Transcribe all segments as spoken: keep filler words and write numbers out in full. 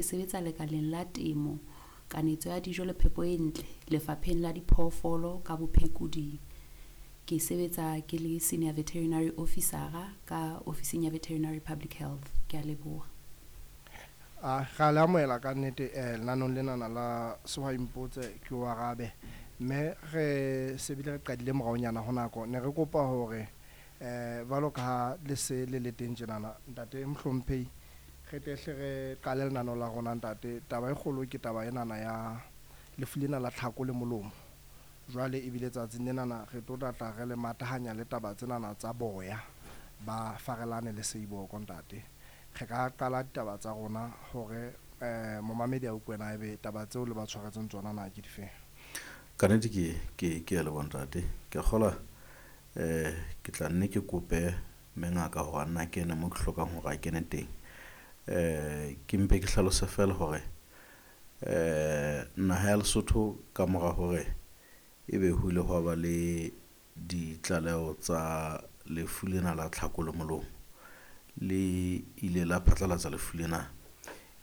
Ke sebetsa lekaleng la temo, kanetso ya dijo le phepo e ntle lefapheng la diphoofolo ka bophekoding. Ke sebetsa ke le senior veterinary officer ka ofising ya Veterinary Public Health. Ke a leboha. A ra le amohela ka nnete eh lenanong lenana la Sehwai Mpotse ke o arabe, mme re se bile re qadile moraonyana ho nako. Ne re kopa hore eh jwalo ka ha le se le le teng tjenana, ntate mohlomphehi, re tle hle re qale lenaneo la rona ntate. Taba e kgolo ke taba enana ya lefu lena la tlhako le molomo. Jwale ebile tsatsing lenana re tlo tlatla re le matahanya le taba tsenana tsa boya ba farelane le seiboko ntate. Re ka qala ditaba tsa rona hore eh momamedi a utlwe na ebe taba tseo le ba tshwaretseng tsona na ke difeng. Ka nnete ke ke ke a leboha ntate. Ke a kgolwa eh ke tla nne ke kope mme ngaka hore a nna kene mo ke hlokang hore a kene teng. Eh ke mpe ke hlalose feela hore eh naha ya Lesotho ka mora hore ebe ho ile hwa ba le ditlaleho tsa lefu lena la tlhako le molomo, le ile la phatlalatsa lefu lena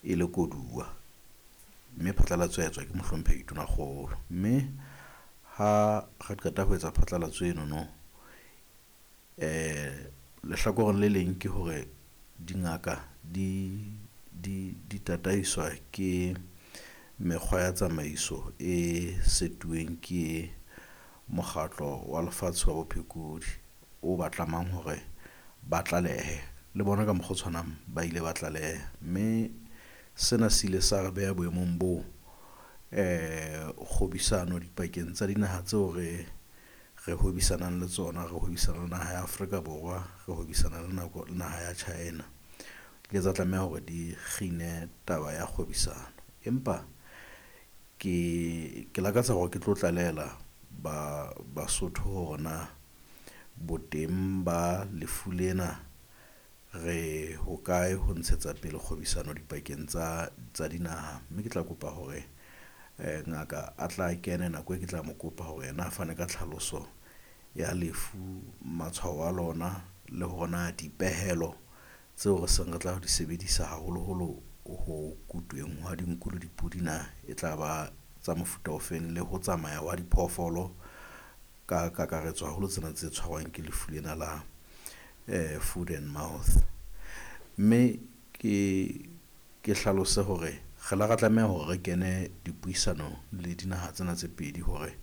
e le koduwa, mme phatlalatso ya etswa ke mohlomphehi Tonakgolo. Mme ha re qeta ho etsa phatlalatso eno no, eh lehlakoreng le leng ke hore dingaka di di di tataiswa ke mekgwa ya tsamaiso e setuweng ke mokgatlo wa lefatshe wa bophekodi o ba tlamang hore ba tlalehe le bona ka mokgwa o tshwanang ba ile ba tlaleha. Mme sena se ile sa re beha boemong boo eh kgwebisano dipakeng tsa dinaha tseo re re hwebisanang le tsona, re hwebisana le naha ya Afrika Borwa, re hwebisana le nako le naha ya China, di ile tsa tlameha hore di kgine taba ya kgwebisano. Empa ke ke lakatsa hore ke tlo tlalehela ba Basotho hore na boteng ba lefu lena re hokae ho ntshetsa pele kgwebisano dipakeng tsa tsa dinaha. Mme ke tla kopa hore eh ngaka a tla kene nako e ke tla mo kopa hore yena a fane ka tlhaloso ya lefu, matshwao a lona le hore na dipehelo tseo re seng re tla di sebedisa haholoholo ho kutweng hwa dinku le dipudi na e tla ba tsa mofuta ofeng, le ho tsamaya wa diphoofolo ka kakaretso haholo tsena tse tshwarwang ke lefu lena la eh food and mouth. Mme ke ke hlalose hore re la ra tlameha hore re kene dipuisanong le dinaha tsena tse pedi hore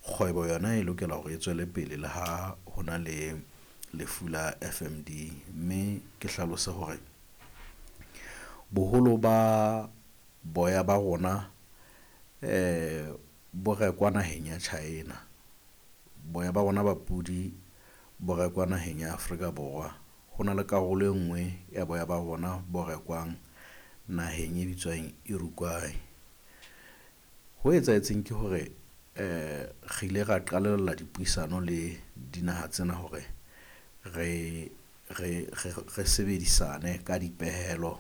kgwebo yona e lokela hore e tswele pele le ha ho na le lefu la F_M_D. Mme ke hlalose hore boholo ba boya ba rona eh bo rekwa naheng ya China. Boya ba rona ba pudi bo rekwa naheng ya Afrika Borwa. Ho na le karolo e nngwe ya boya ba rona bo rekwang naheng e bitswang Uruguay. Ho etsahetseng ke hore eh re ile ra qalella dipuisano le dinaha tsena hore re re re re sebedisane ka dipehelo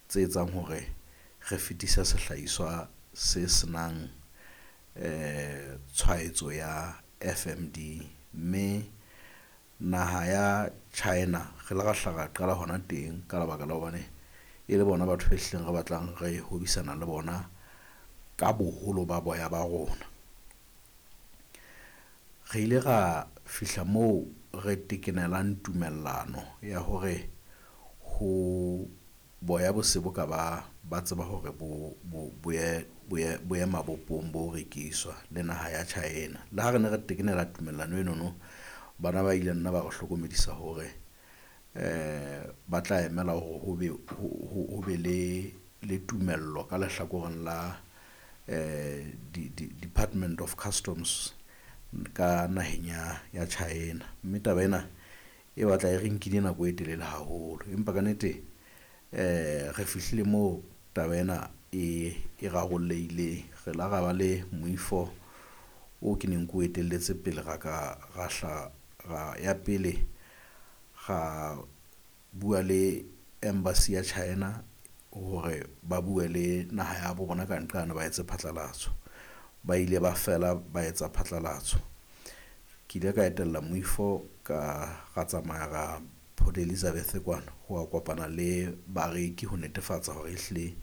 tse etsang hore re fetise sehlahiswa se senang eh tshwaetso ya F_M_D. Mme naha ya China re ile ra hla ra qala hona teng ka lebaka la hobane e le bona batho be hlileng re batlang re hwebisana le bona ka boholo ba boya ba rona. Re ile ra fihla moo re tekenelang tumellano ya hore ho boya bo se bo ka ba ba tseba hore bo bo bo ye bo ye bo ye mabopong bo rekiswa le naha ya China. Le ha re ne re tekenela tumellano eno no, bana ba ile nna ba re hlokomedisa hore eh ba tla emela hore ho be ho be le le tumello ka lehlakoreng la eh di Department of Customs ka naheng ya ya China. Mme taba ena e batla e re nkile nako e telele haholo, empa kannete eh re fihlile moo taba ena e e rarollehileng. Re la ra ba le moifo o ke neng ko etelletse pele ra ka ra hla ra ya pele ra bua le embassy ya China hore ba bue le naha ya bo bona ka nqane ba etse phatlalatso. Ba ile ba fela ba etsa phatlalatso. Ke ile ka etella moifo ka ra tsamaya ra Port Elizabeth kwana ho wa kopana le bareki ho netefatsa hore ehlile